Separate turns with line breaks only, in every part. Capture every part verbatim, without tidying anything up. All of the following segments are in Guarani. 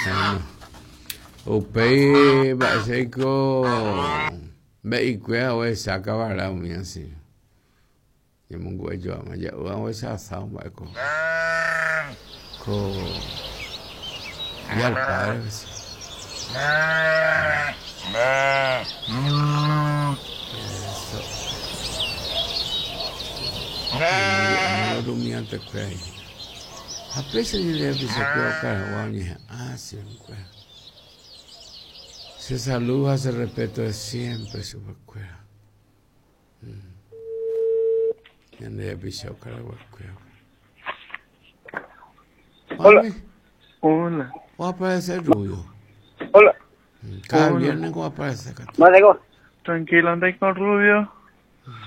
Bueno. Upéi mba'éichaiko mbe'ikuéra ohecha kavara umi así. Ñemongu'ejoáma ja'úva ohecha asado mba'éko. Ko Día del Padre pues. Eso. Ñemongu'éma lo rumiantekuéra hína. Ha péicha ñande rapichakuéra okaragua oñeha'ã chekuéra. Se saluda, se respeto de siempre chupekuéra. Ñande rapicha okaraguakuéra.
Hola.
Mami,
Hola.
¿va a aparecer Rubio?
Hola.
Cada
Hola.
viernes va a aparecer acá.
Vale,
Tranquilo, andai con Rubio.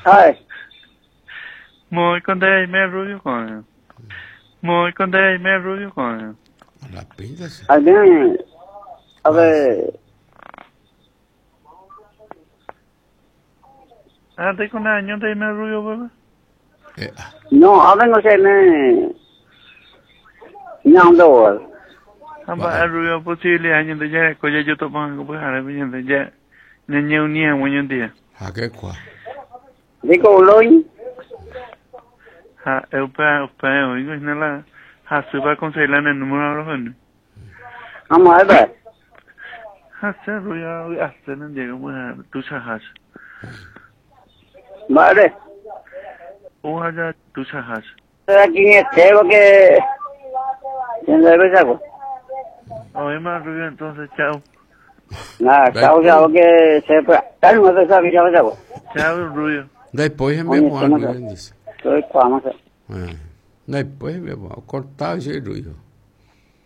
¿Sabes?
Muy con Dime Rubio con. Muy con Dime Rubio con.
A la pinta, sí.
Al bien, a ver,
Andai con año Dime Rubio, bebé.
Eh, ah,
no, a ver, no sé, me... No, no,
Amba Rubio posible año de ya, coye yo topo algo pues ahora viene de ya. Ñe unía un día.
¿A qué cuá?
Digo, loin,
Ha, eupa, eupa, oigo, es nada. Ha, se va a conseguir en el número de los jóvenes.
vamos a ver.
Ha, se Rubio, hasta no llegamos a tu sajas.
Vale.
Ojalá tu sajas.
Aquí este, porque... ¿Quién debe saco?
Oye, más Rubio, entonces, chao.
Nada, chao, chao, que se... Claro, no se sabe, chao, chao.
Chao, Rubio.
Después
Oye,
enviamos
¿cómo
algo,
se-
bien dice.
Estoy vamos a
Eh, Después enviamos, cortado ese ruido.